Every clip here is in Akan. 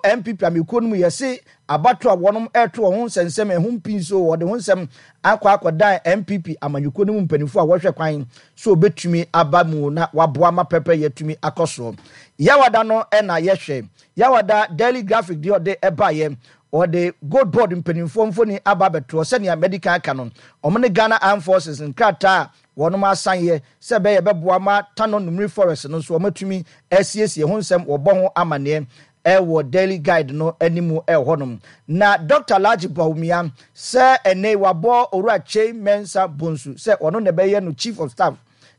NPP amekuo no mu yɛse abatoɔ a wɔnom ɛreto wɔn ho nsɛnsɛm ɛho mpi nso wɔde ho nsɛm akɔ akɔdan NPP amanyɔkuo no mu mpanimfoɔ a wɔhwɛ kwan sɛ wɔbɛtumi aba mu na waboa ma pɛpɛ yɛtumi akɔ soɔ. Yawada no na yɛhwɛ. Yawada Daily Graphic deɛ ɔde ɛbaeɛ wɔde Gold Board mpanimfoɔ mfoni aba abɛtoɔ sɛnea madi kan aka no wɔn ne Ghana Armed Forces nkrataa a wɔnom asan yɛ sɛ ɛbɛyɛ ɛbɛboa ma Tano Numiri Forest no nso wɔatumi asiesie ho nsɛm wɔbɔ ho amaneɛ ɛwɔ Daily Guide no anim ɛwɔ hɔnom. Na Dr. Alhaji Bawumia sɛ ɛnɛ yi wabɔ Owura Kyei Mensah Bonsu sɛ ɔno na ɛbɛyɛ no Chief of Staff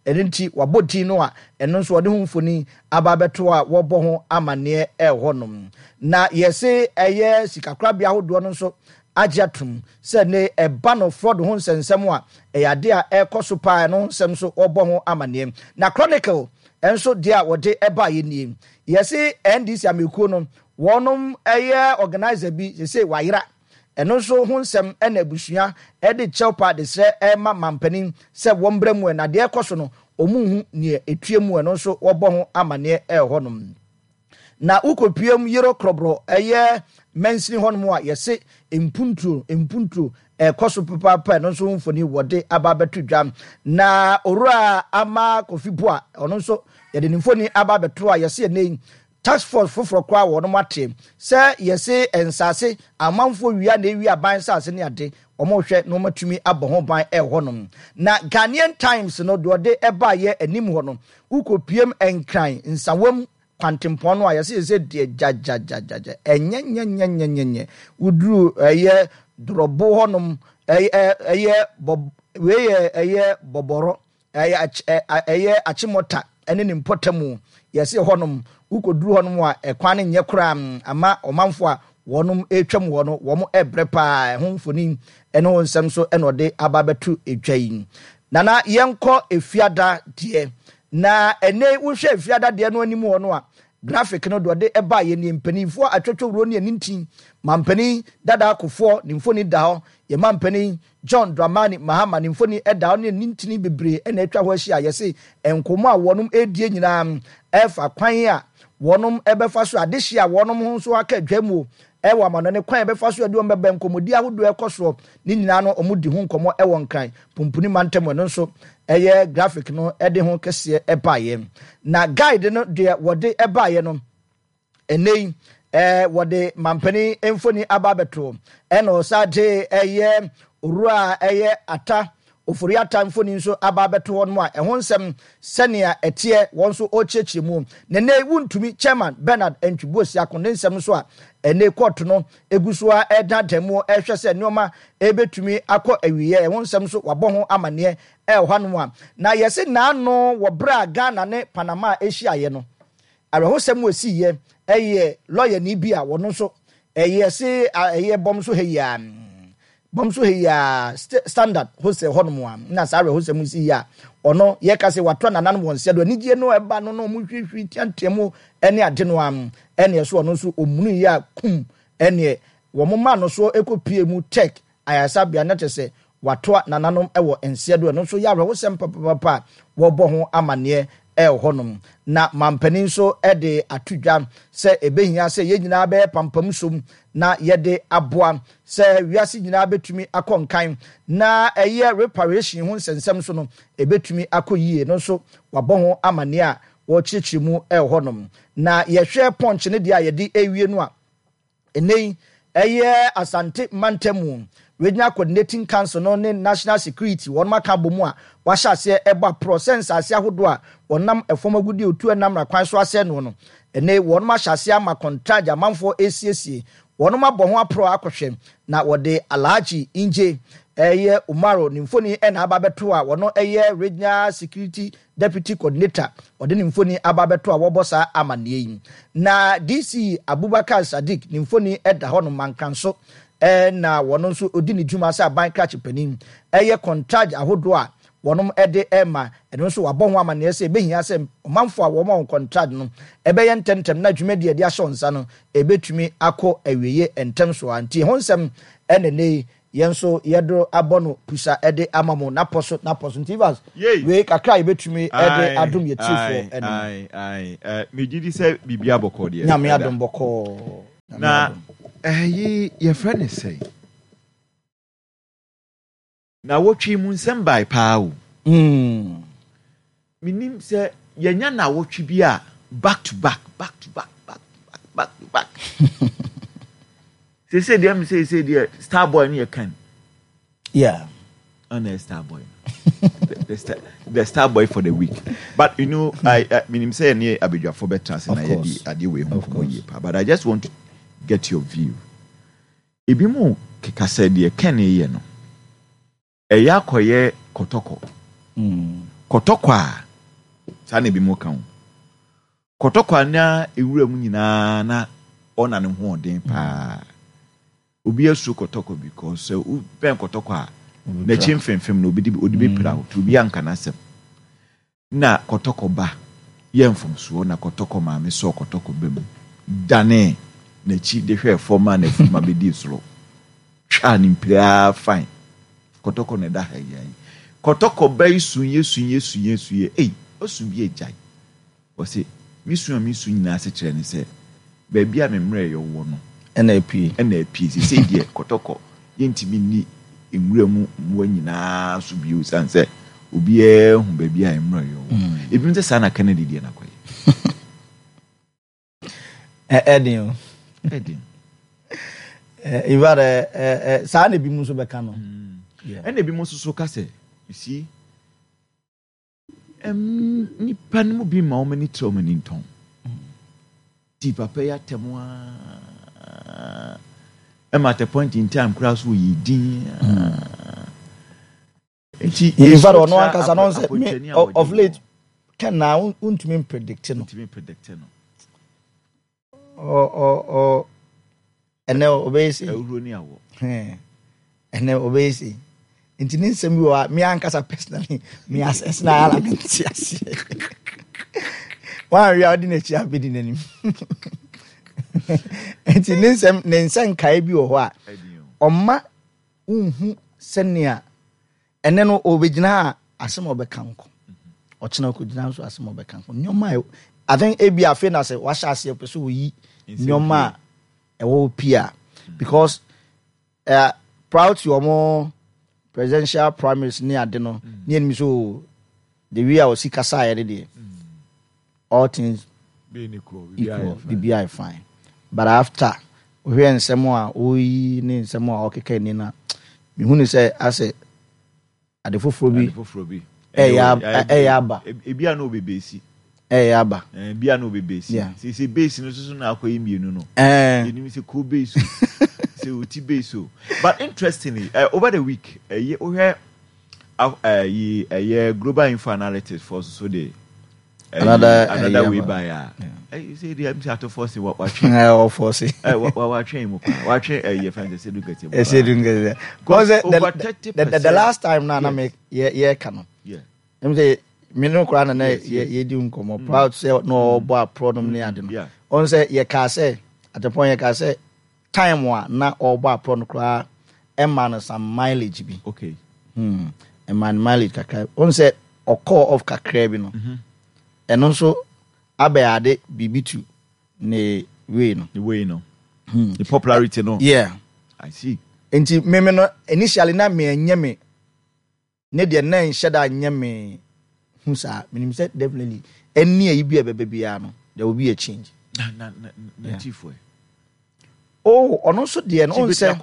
ɛno nti wabɔ din no a ɛno nso ɔde ho mfoni aba abɛto a wɔbɔ ho amaneɛ ɛwɔ hɔnom. Na yɛse ɛyɛ sikakorabea ahodoɔ no nso agye atom sɛ ne ɛba no fraud ho nsɛnsɛm a ɛyɛ ade a ɛrekɔ so paa ɛno ho nsɛm nso wɔbɔ ho amaneɛ. Na Chronicle nso deɛ a wɔde ɛbaeɛ nie. Yɛse NDC amekuo no wɔnom ɛyɛ organizer bi sese wayera. Ɛno nso ho nsɛm ɛna abusua ɛde kyɛw paa de srɛ ɛma mampanin sɛ wɔmmra mu ɛ na deɛ ɛkɔ so no wɔn nhu neɛ ɛtua mu ɛno nso wɔbɔ ho amaneɛ ɛwɔ hɔnom. Na wokɔpuem Yero Krɔbrɔ ɛyɛ mansini hɔnom a yɛse mpuntuo mpuntuo ɛkɔ so papaapa ɛno nso ho mfoni wɔde aba abɛto dwa. Na Owura Ama Kofi Boa ɔno nso yɛde ne mfoni aba abɛto a yɛse ɛnɛ yi task force foforɔ koraa wɔnom ate sɛ yɛse nsaase amanfoɔ wia na ɛwia aban nsaase ne ade wɔn hwɛ na wɔn atumi abɔ ho ban ɛwɔ hɔnom. Na Ghanaian Times no deɛ ɔde ɛbaayɛ anim hɔ no wokɔpiem Nkran Nsawam kwantempɔn no a yɛsɛ yɛsɛ deɛ gyagyagyagyagya ɛnyɛnyɛnyɛnyɛnyɛ woduru ɛyɛ dorɔbo hɔnom ɛyɛ ɛyɛ bɔ wei yɛ ɛyɛ bɔbɔrɔ ɛyɛ ɛyɛ akyemɔta ɛne ne mpɔtamu yɛsɛ hɔnom wokɔduru hɔnom a ɛkwan no nyɛ koraa ama ɔmanfo a wɔnom ɛretwam hɔ no wɔn ɛbrɛ paa ɛho mfoni ɛne ho nsɛm so ɛna ɔde aba abɛto edwa yi. Nana yɛnkɔ Efiada deɛ. Na ɛnɛ yi wohwɛ Efiada deɛ no anim hɔ no a, graphic no deɛ ɔde ɛbaeɛ nie, mpanimfoɔ atwotwowuro ne anintin, mampanin Dada Kufuor ne mfoni da hɔ, yɛn mampanin John Dramani Mahama ne mfoni da hɔ ne anintini bebree na atwa hɔ ahyia a yɛse nkɔmmɔ a wɔnom ɛredie nyinaa ɛfa kwan a wɔnom ɛbɛfa so adehyeɛ a wɔnom ho nso aka adwa mu ɛwɔ amanɔne kwan a ɛbɛfa so ɛde wɔn bɛba nkɔmmɔdi ahodoɔ ɛkɔ soɔ ne nyinaa no wɔn di ho nkɔmmɔ ɛwɔ Nkran Pumpuni mantam ɛno nso ɛyɛ graphic no ɛde ho kɛseɛ ɛbaeɛ na guide no deɛ wɔde ɛbaeɛ no ɛnɛ yi ɛɛ wɔde mampanin mfoni aba abɛto ɛna ɔsa de ɛyɛ owura ɛyɛ Ata Ofori Atta mfoni nso aba abɛto hɔ nom a ɛho nsɛm sɛnea ɛteɛ wɔn nso ɔrekyerɛkyerɛ mu. Na nnɛ yi wontumi Chairman Bernard Antwi Boasiako ne nsɛm nso a ɛnnɛ yi kɔɔto no egu so ara ɛredaadaa mu ɛrehwɛ sɛ nneɛma ɛrebɛtumi akɔ awieɛ ɛho nsɛm nso wabɔ ho amaneɛ ɛwɔ hanom a na yɛse naano wɔ berɛ a Ghana ne Panama ɛhyiaeɛ no awerɛhosɛm a ɛsiiɛ ɛyɛ lɔyani bi a wɔno nso ɛyɛ se ɛyɛ bɔm so ha yi a Bɔm so ha yi ara, Standard Hostel hɔnom a, na saa awerɛhosɛm yi si yi a, ɔno, yɛka sɛ watoa nananom wɔn nsa do, anigyeɛ no a ɛba no na wɔn hwirihwiri teatea mu ne ade no ara, ɛneɛ so ɔno nso ɔmunu yi a kum, ɛneɛ wɔn maa no soɔ ɛkɔ pie mu Tech ayaresabea na kyerɛ sɛ watoa nananom wɔ nseɛ do, ɛno nso yɛ awerɛhosɛm papapapa a wɔbɔ ho amaneɛ wɔ hɔnom. Na mampanin nso de ato dwa sɛ ɛbɛhia sɛ yɛn nyinaa bɛyɛ pampam som na yɛde aboa sɛ wiase nyinaa bɛtumi akɔ nkan na ɛyɛ reparation ho nsɛnsɛm nso no ɛbɛtumi akɔ yie no nso wabɔ ho amaneɛ a wɔkyerɛkyerɛ mu wɔ hɔnom. Na yɛhwɛ Punch no deɛ a yɛde ɛwie no a, Ɛnnɛ yi, ɛyɛ Asante mantam Regional Coordinating Council no ne National Security wɔnom aka abɔ mu a wɔahyɛ aseɛ ɛbɔ aporɔ sɛ nsaase ahodoɔ a wɔnam fam agudeɛ otu ɛnam mmara kwan so asɛe noɔ no. Ɛnnɛ yi wɔnom ahyɛ aseɛ ama kɔntragye amanfoɔ ɛresiesie. Wɔnom abɔ ho aporɔ akɔhwɛ na wɔde Alhaji Inje ɛyɛ Umaru ne mfoni ɛna aba abɛto a wɔno ɛyɛ Regional Security Deputy Coordinator, ɔde ne mfoni aba abɛto a wɔbɔ saa amanneɛ yi. Na DC Abubakar Sadiq ne mfoni da hɔ nom Mankranso na wɔno nso ɔdi ne dwuma sɛ aban krakye panin. Ɛyɛ kɔntragye ahodoɔ a wɔnom de rema, ɛno nso wɔabɔ ho amanneɛ sɛ ɛbɛhia sɛ ɔmanfoɔ a wɔma wɔn kɔntragye no ɛbɛyɛ ntɛmntɛm na dwumadie a yɛde ahyɛ wɔn nsa no ɛbɛtumi akɔ awieɛ ntɛm so ara. Nti ɛho nsɛm na ɛnnɛ yi Yɛn nso yɛdoro abɔ no pusa de ama mo napɔ so napɔ so. Nti Evans, Yei! wei kakra a yɛbɛtumi de Ae, adom yɛn tiefoɔ ae, no. ae, ae. Eh, megye di sɛ biribiara bɔkɔɔ deɛ, Nyame ɛda. adom bɔkɔɔ. Na ɛyi yɛfrɛ ne sɛn? Nawɔtwe mu nsɛm bae paa o. Mm. Menim sɛ yɛnya nawɔtwe bi a back to back, back to back, back to back, back to back. Seesei deɛ me seesei deɛ star boy no yɛ kan. Yeah. Ɔna yɛ star boy no. The star boy for the week. But you know, I, I menim sɛ yɛne abadwafo bɛtra ase na yɛde adeɛ wei ho nkɔmmɔ yie paa. But I just want to get your view. Ebinom keka sɛ deɛ Ken reyɛ no, ɛyɛ akɔyɛ kɔtɔkɔ. Kɔtɔkɔ a, saa na ebinom ka o. Kɔtɔkɔ a na ewura mu nyinaa na ɔna ne ho ɔden paa. Obi asuro kɔtɔkɔ because sɛ wobɛn kɔtɔkɔ a, n'akyi mfemfem no obi de ɔde bɛpira wo, nti obi anka n'asɛm. Nna kɔtɔkɔ ba yɛɛ mfomsoɔ na kɔtɔkɔ maame sɔɔ kɔtɔkɔ ba mu danee n'akyi de hwɛɛ fam maa n'afuruma bɛdii soro twaa no mpire ara fine. Kɔtɔkɔ na ɛda ha yi ara yi. Kɔtɔkɔ ba yi suiɛ suiɛ suiɛ suiɛ ei ɔsu bi agyae. Ɔse, Me su a mesu nyinaa asekyerɛ ne sɛ, baabi a me mmerɛyɛ wɔ no na apue. Na apue. Seesei deɛ, kɔtɔkɔ, yɛntumi nni nwura mu mmoa nyinaa so bio esiane sɛ obiara ahu baabi a mmerɛyɛ wɔ. Ebinom sɛ saa na Kennedy deɛ no akɔyɛ. Ɛden o. Ɛden. In fact, saa na ebinom nso bɛka no. Ɛna ebinom nso so ka sɛ, you see, Nnipa no mu bi ma wɔn ani tra wɔn ani ntɔn. Di papa yi atɛm ara. Ɛma at a point in time koraa so oyi din. Nti in fact ɔno ankasa no sɛ me of late Ken na wontumi mpredict no. Wontumi predict no. Ɔ ɔ ɔ ɛnɛ ɔbɛyɛ sei. Ahuro ne awɔ. Ɛnɛ ɔbɛyɛ sei. Nti ne nsɛm bi wɔ hɔ a me ankasa personally me asɛs na ara me nte aseɛ. Wɔanwe a ɔde n'akyi abɛdi n'anim. Nti ne nsɛm ne nsɛnkae bi wɔ hɔ a ɔma wonhu sɛnea Ɛnnɛ no ɔbɛgyina a asɛm a ɔbɛka nko. Ɔkyena ɔkɔgyina nso asɛm a ɔbɛka nko. Nneɛma a I think ebi afei na sɛ wahyɛ aseɛ pɛ sɛ ɔyi nneɛma a ɛwɔ hɔ pii a because uh, prior to wɔn presidential primaries ne ade no ne anim so the way a ɔsi kasaeɛ no deɛ all things equal biribiara yɛ fine but after wohwɛ nsɛm a ɔyi ne nsɛm a ɔkeka ni no a mehu ne sɛ asɛ ade foforɔ bi ɛyɛ aba ebi a na ɔbɛbɛsi ɛyɛ aba ebi a na ɔbɛbɛsi sɛ base no soso na akɔyɛ mmienu no yɛnim sɛ ko base o sɛ ɔti base o but interestingly uh, over the week ɛyɛ wohwɛ ɛyi ɛyɛ global info analytics foɔ soso de another another way by a ɛyi sɛ ɛdi ɛmi sɛ ato fɔsi wa watwe ɛwɔ fɔsi ɛ wa wa watwe mu paa watwe ɛyi ɛfɛn sɛ sedu nkɛtɛ mu paa sedu nkɛtɛ because the the the last time na na me yɛ yɛ ka no ɛmi sɛ mi no koraa na na yɛ yɛ di nkɔmɔ mm. proud sɛ na ɔbɔ aporɔ nom ne ade no ɔn sɛ yɛ kaa sɛ at the point yɛ kaa sɛ Time a na ɔrebɔ aprɔ no koraa ɛmaa no some mileage bi. Okay. Hmm. Ɛmaa no mileage kakra. Wohu sɛ ɔkɔɔ off kakra bi no. Mm-hmm. Ɛno nso abɛ ade biribi to ne way no. Ne way no. Hmm. Ne popularity no. Yeah. I see. Nti meme no initially na me ɛnyɛ me Ne deɛ na ɛnhyɛ da nyɛ me hu saa. Menim sɛ definitely ɛnni ayi bi a ɛbɛba biara no there will be a change. Na na na na chief ɛ. Oh, ɔno nso deɛ no ɔn sɛ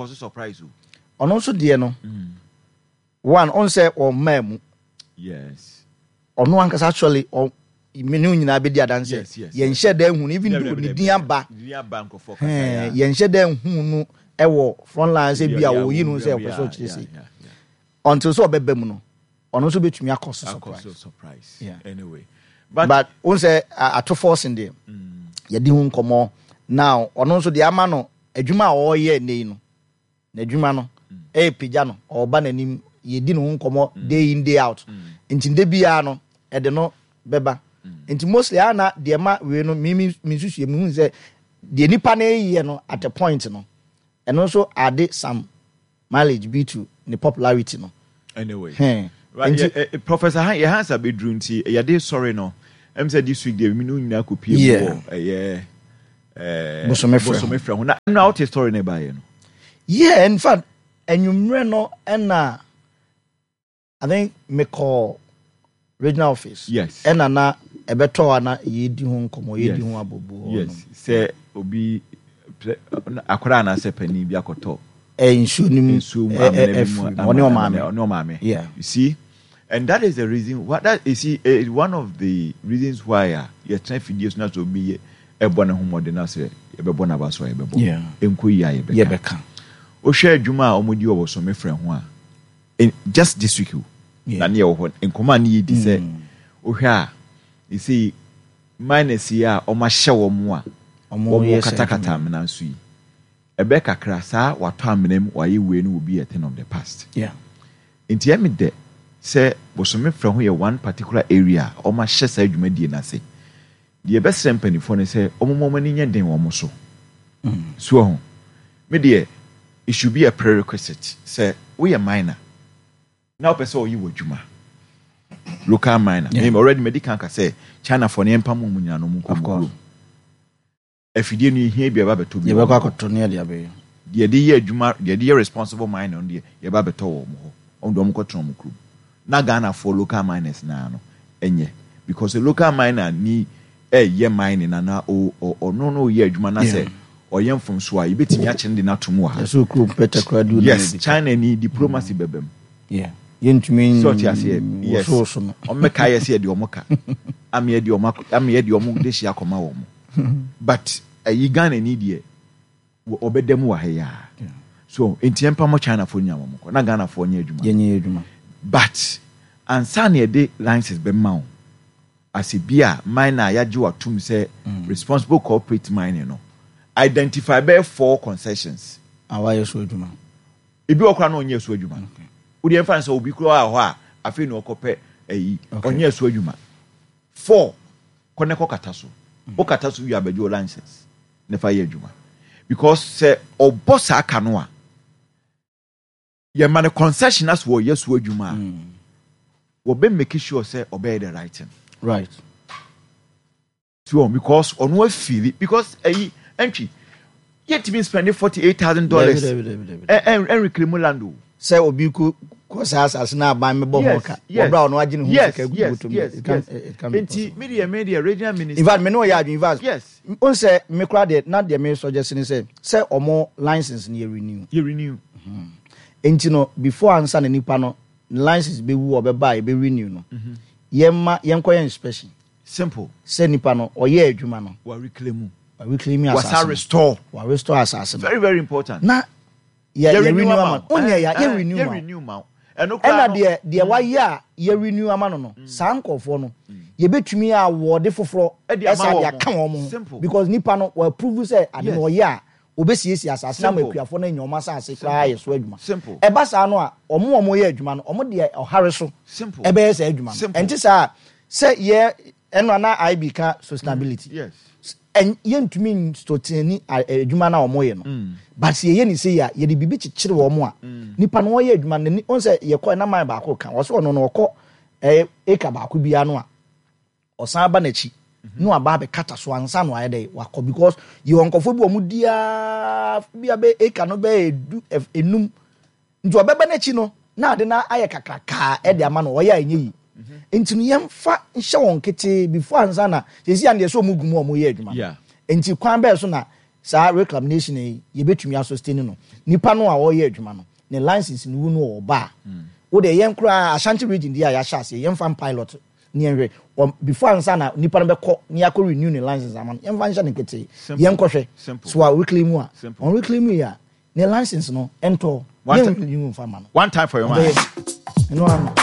ɔno nso deɛ no mm. one ɔn sɛ ɔmmaa mu. Yes. Ɔno ankasa actually ɔ me ne wo nyinaa bɛdi adanseɛ. Yɛnhyɛ da nhu no even though ne din aba. Yɛnhyɛ da nhu no ɛwɔ front line sɛ bi a wɔyi no sɛ ɔpɛ sɛ ɔkyerɛ sei. Until sɛ ɔbɛba mu no, ɔno nso bɛtumi akɔ so surprise. Akɔ so surprise. Yeah. Anyway. But wohu sɛ ato forcing deɛ, mm. yɛdi ho nkɔmmɔ. Now, ɔno nso deɛ ama no adwuma a ɔreyɛ nnɛ yi no, n'adwuma no, mm. ɛrepagya no, ɔreba n'anim, yɛdi ne ho nkɔmmɔ mm. day in day out. Nti nda biara no, ɛde no bɛba. Nti mostly a na deɛ ma wei no, me me nsusuɛ mehu sɛ deɛ nipa no reyɛ no at a point no, ɛno nso ade some mileage bi to ne popularity no. Anyway. Hɛn. Right, Nti. yɛ, eh, Professor Han, yɛ Hans abɛduru nti yɛde sɔre no, ɛm sɛ this week deɛ mi no nyinaa kɔpie mu Yeah. wɔ ɛyɛ. Eh, Bosome frɛ ho. Na ɛno a wote story no ɛbaeɛ no. Yeah, in fact, anwummerɛ no ɛna I think mekɔɔ regional office. Yes. Ɛna na ɛbɛtɔ a na yɛdi ho nkɔmmɔ, yɛdi ho abobo. Yes. Sɛ obi akwadaa anaasɛ panin bi akɔtɔ. Nsuo no mu. Nsuo mu amena bi mu. Ɔne ɔmaame. Ɔne ɔmaame. Yeah. You see, and that is the reason why that you see eh, one of the reasons why a yɛtena fidie so na sɛ obi yɛ ɛbɔ ne ho mmɔden na sɛ yɛbɛbɔ n'aba so a yɛbɛbɔ. Yeah. Ɛnkɔ yie a yɛbɛka. Yɛbɛka. Wohwɛ adwuma a wɔdi wɔ Bosome frɛ ho a. Just this week o na ne yɛwɔ hɔ nkɔmɔ a ne yɛdi sɛ mm. wohwɛ a ɛsei minus yi a ɔmahyɛ wɔ mo a wɔn katakata amena nso yi ɛbɛ kakra saa watɔ amena mu wayɛ wei no will be a thing of the past yeah. nti ɛmi dɛ sɛ bosome frɛ ho yɛ one particular area a wɔahyɛ saa dwumadie no ase Deɛ yɛbɛsrɛ mpaninfoɔ ne sɛ wɔn mma wɔn ani nyɛ den wɔn so. So wahu? Me deɛ, it should be a prerequisite sɛ woyɛ minor na wopɛ sɛ ɔyɛ w'adwuma, local minor. Yeah. Me already madi kan ka sɛ Chinafoɔ no yɛmpam wɔn nyinaa na wɔn nkɔ wɔn kurom. Afidie no yɛhia bi a yɛba bɛtɔ bi wɔ Yɛbɛkɔ wɔn hɔ. akɔtɔ ne yɛde abɛyɛ. Deɛ yɛde yɛ adwuma, deɛ yɛde yɛ responsible mining no deɛ yɛba bɛtɔ wɔ wɔn hɔ. Wɔn deɛ wɔn kɔtena wɔn kurom. Na Ghana foɔ local miners naa no ɛnyɛ because local miner ni ɛyɛ mining na na o o ɔno no yɛ adwuma na sɛ ɔyɛ mfomso a yɛbɛtumi akyɛ no de no ato mu wɔ ha. Yɛsɛ okuro pɛtɛ koraa di Yes, China ni diplomacy bɛbɛ mu. Yeah. Yɛntumi sɛ ɔte aseɛ yes wosowoso no. Wɔn bɛka yɛ sɛ yɛde wɔn ka ama yɛde wɔn ama yɛde wɔn de hyia akɔma wɔn but ɛyi Ghana ni deɛ Ɔbɛda mu wɔ ha yi ara. So nti yɛmpa mo China foɔ nyinaa wɔn kɔ na Ghana foɔ nyɛ adwuma. Yɛnyɛ adwuma. But ansa na yɛde license bɛma wo as ebi a miner a yɛagye wo atum sɛ mm. responsible corporate mining no identify bɛyɛ four concessions. A wayɛ so adwuma. Ebi wɔ koraa na ɔnyɛ so adwuma. Wode ɛmfa no sɛ obi koraa wɔ hɔ a afei na ɔkɔpɛ ayi ɔnyɛ so adwuma. Four kɔ ne kɔ kata so. Wo kata so wie abɛgye wo license. na fa yɛ adwuma because sɛ ɔbɔ saa ka no a yɛma no concession as wɔyɛ so adwuma a mm. wɔbɛ make sure sɛ ɔbɛyɛ the right thing. Right. So because ɔno afili because ɛyi ɛntwi yɛntumi spend $48,000 ɛnrekere mu land o. Sɛ obi ko kɔ saa asase na aban mebɔ ho ka wɔbra ɔno agye ne ho sika gu bɔtɔ mu it can it can be possible. Nti mi deɛ mi deɛ regional minister. In fact me ne ɔyɛ adwene in fact. Yes. N sɛ me kora deɛ na deɛ me suggest ne sɛ sɛ ɔmo license no yɛ renew. Yɛ renew. Nti no before ansa na nipa no ne license bɛwu ɔbɛba a yɛbɛ renew no yɛn ma yɛn kɔ yɛ inspection. Simple. Sɛ nipa no ɔyɛ adwuma no. Wa reclaim. Wa reclaim asase no. Wasa restore. Wa restore asase no. Very very important. Na yɛ yɛ renew ama no. Onyɛ ya yɛ renew ma wo. Ɛna deɛ deɛ wayɛ a yɛ renew ama no no saa nkorɔfoɔ no yɛbɛtumi awɔde foforɔ ɛsa de aka wɔn ho because nipa no wa prove sɛ ade no ɔyɛ a ɔbɛsiesie asase no ama akuafoɔ no anya wɔn asase koraa ayɛ so adwuma. Ɛba saa no a wɔn a wɔyɛ adwuma no wɔn deɛ ɔhare so ɛbɛyɛ saa adwuma no. Ɛnte saa a sɛ yɛ ɛno a na IB ka sustainability. Yɛntumi nsoteni adwuma no a wɔyɛ no mm. But sɛ yɛyɛ ne sei a yɛde biribi kyekyere wɔn a mm. nipa no ɔyɛ adwuma no ɔn sɛ yɛkɔ ɛna man baako ka ɔsɛ ɔno no ɔkɔ ɛyɛ eka baako biara no a ɔsan ba n'akyi mhm. na waba abɛkata so ansa na wayɛ dɛ wakɔ because yɛwɔ nkɔfoɔ bi wɔn diaa bi a bɛ eka no bɛyɛ edu enum. Nti ɔbɛba n'akyi no na ade no ayɛ kakrakaa de ama no, ɔyɛ a ɛnyɛ yi. Nti no yɛmfa nhyɛ wɔn ketee before ansa na sɛsi a deɛ sɛ wɔn gu mu a wɔyɛ adwuma no. Nti kwan bɛɛ so na saa reclamation yi yɛbɛtumi asustain no. Nipa no a ɔreyɛ adwuma no, ne license no wu no ɔba a, wo deɛ yɛn koraa Ashanti region deɛ a yɛahyɛ aseɛ yɛmfa pilot ne yɛnhwɛ before ansa na nipa no bɛkɔ ne yɛakɔ renew ne license ama no, yɛmfa nhyɛ no ketee. Yɛnkɔhwɛ so a reclaim a, ɔnreclaim yi a, Ne license no ɛntɔ. One nfa ma no. One time for your mind. Ɛno ano.